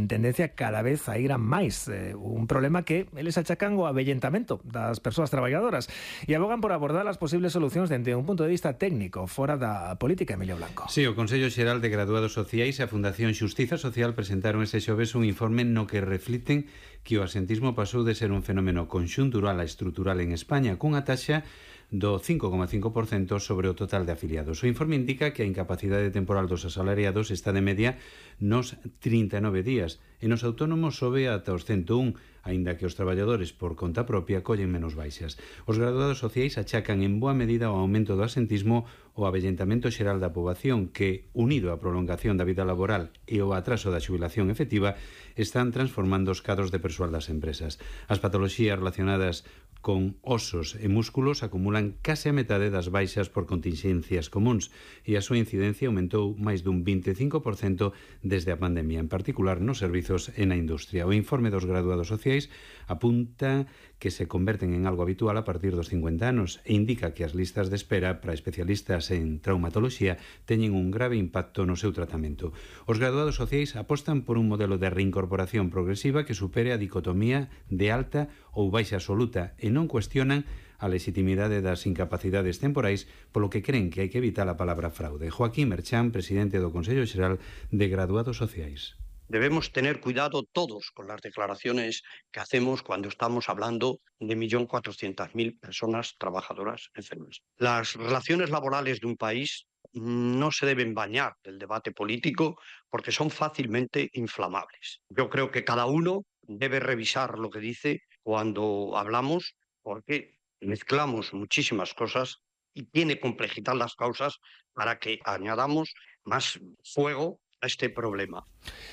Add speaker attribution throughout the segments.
Speaker 1: tendencia cada vez a ir a máis. Un problema que eles achacan o avellentamento das persoas traballadoras e abogan por abordar as posibles solucións dende un punto de vista técnico, fora da política. Emilio Blanco.
Speaker 2: Sí, o Consello Xeral de Graduados Sociais e a Fundación Xustiza Social presentaron este xoves un informe no que refliten que o asentismo pasou de ser un fenómeno conxuntural a estrutural en España, cunha taxa do 5,5% sobre o total de afiliados. O informe indica que a incapacidade temporal dos asalariados está de media nos 39 días e nos autónomos sobe ata os 101, aínda que os traballadores por conta propia collen menos baixas. Os graduados sociais achacan en boa medida o aumento do asentismo o avellentamento xeral da poboación que, unido á prolongación da vida laboral e o atraso da xubilación efectiva, están transformando os cadros de persoal das empresas. As patoloxías relacionadas con osos e músculos acumulan case a metade das baixas por contingencias comuns e a súa incidencia aumentou máis dun 25% desde a pandemia, en particular nos servizos e na industria. O informe dos graduados sociais apunta que se converten en algo habitual a partir dos 50 anos e indica que as listas de espera para especialistas en traumatoloxía teñen un grave impacto no seu tratamento. Os graduados sociais apostan por un modelo de reincorporación progresiva que supere a dicotomía de alta ou baixa absoluta e non cuestionan a legitimidade das incapacidades temporais, polo que creen que hai que evitar a palabra fraude. Joaquín Merchán, presidente do Consello Xeral de Graduados Sociais.
Speaker 3: Debemos tener cuidado todos con las declaraciones que hacemos cuando estamos hablando de 1.400.000 personas trabajadoras enfermas. Las relaciones laborales de un país no se deben bañar del debate político porque son fácilmente inflamables. Yo creo que cada uno debe revisar lo que dice cuando hablamos, porque mezclamos muchísimas cosas y tiene complejidad las causas para que añadamos más fuego a este problema.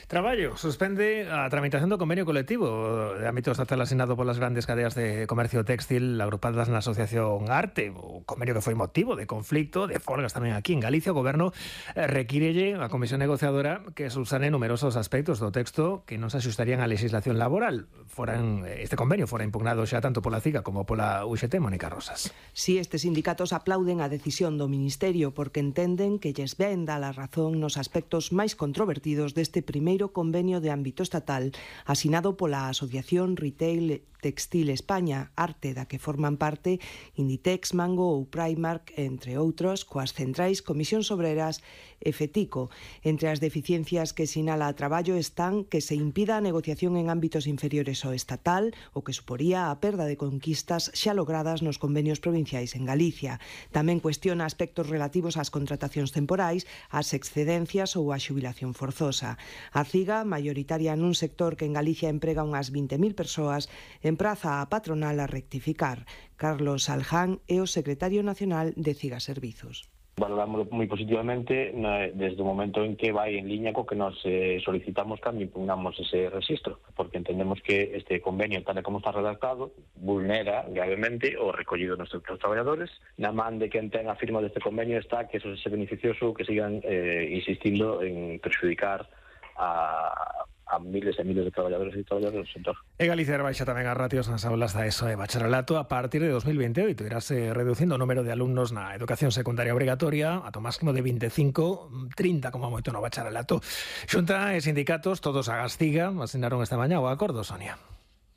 Speaker 1: Traballo suspende a tramitación do convenio colectivo de ámbito estatal asignado polas grandes cadeas de comercio textil agrupadas na Asociación Arte, o convenio que foi motivo de conflicto, de folgas tamén aquí en Galicia. O Goberno requírelle a Comisión Negociadora que subsane numerosos aspectos do texto que non se axustarían á legislación laboral. Este convenio fora impugnado xa tanto pola CIGA como pola UGT. Mónica Rosas.
Speaker 4: Si estes sindicatos aplauden a decisión do Ministerio porque entenden que lles ven dar a razón nos aspectos máis controvertidos deste primeiro convenio de ámbito estatal asinado pola Asociación Retail Textil España, Arte, da que forman parte Inditex, Mango ou Primark, entre outros, coas centrais Comisións Obreras e FETICO. Entre as deficiencias que sinala a Traballo están que se impida a negociación en ámbitos inferiores ao estatal, o que suporía a perda de conquistas xa logradas nos convenios provinciais en Galicia. Tamén cuestiona aspectos relativos ás contratacións temporais, ás excedencias ou á xubilación forzosa. A CIGA, maioritaria nun sector que en Galicia emprega unhas 20.000 persoas, empraza a patronal a rectificar. Carlos Alján é o secretario nacional de CIGA Servizos.
Speaker 5: Valoramos moi positivamente desde o momento en que vai en liña co que nos solicitamos cando impugnamos ese rexistro, porque entendemos que este convenio, tal como está redactado, vulnera gravemente o recollido nos seus traballadores. Na man de quen ten a firma deste convenio está que eso se beneficioso que sigan insistindo en perxudicar a miles e miles de traballadores e traballadoras do sector.
Speaker 1: E Galicia baixa tamén as ratios nas aulas da ESO e bacharelato a partir de 2028. Irase reducindo o número de alumnos na educación secundaria obrigatoria ata o máximo de 25, 30 como moito no bacharelato. Xunta e sindicatos, todos a gastiga, asinaron esta mañá o acordo, Sonia.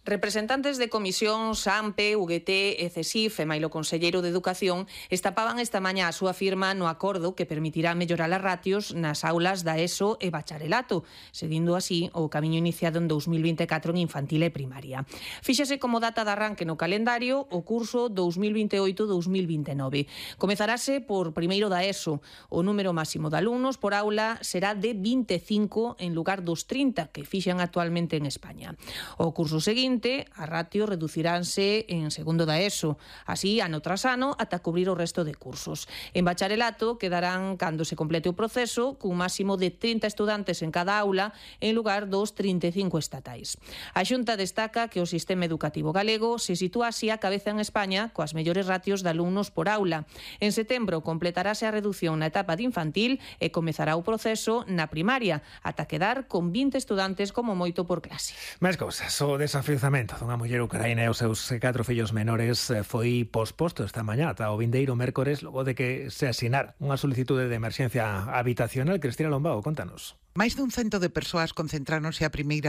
Speaker 6: Representantes de comisións AMPE, UGT e CESIF e mailo conselleiro de Educación estapaban esta mañá a súa firma no acordo que permitirá mellorar as ratios nas aulas da ESO e bacharelato, seguindo así o camiño iniciado en 2024 en infantil e primaria. Fíxase como data de arranque no calendario o curso 2028-2029. Comezarase por primeiro da ESO. O número máximo de alumnos por aula será de 25 en lugar dos 30 que fixan actualmente en España. O curso seguinte, a ratio reduciránse en segundo da ESO, así ano tras ano ata cubrir o resto de cursos. En bacharelato quedarán, cando se complete o proceso, cun máximo de 30 estudantes en cada aula en lugar dos 35 estatais. A Xunta destaca que o sistema educativo galego se sitúa así a cabeza en España coas mellores ratios de alumnos por aula. En setembro completarase a reducción na etapa de infantil e comezará o proceso na primaria, ata quedar con 20 estudantes como moito por clase.
Speaker 1: Máis cousas, o desafiuzamento dunha muller ucraína e os seus 4 fillos menores foi posposto esta mañá ata o vindeiro mércores logo de que se asinar unha solicitude de emerxencia habitacional. Cristina Lombao, contanos.
Speaker 7: Máis dun 100 de persoas concentráronse a primeira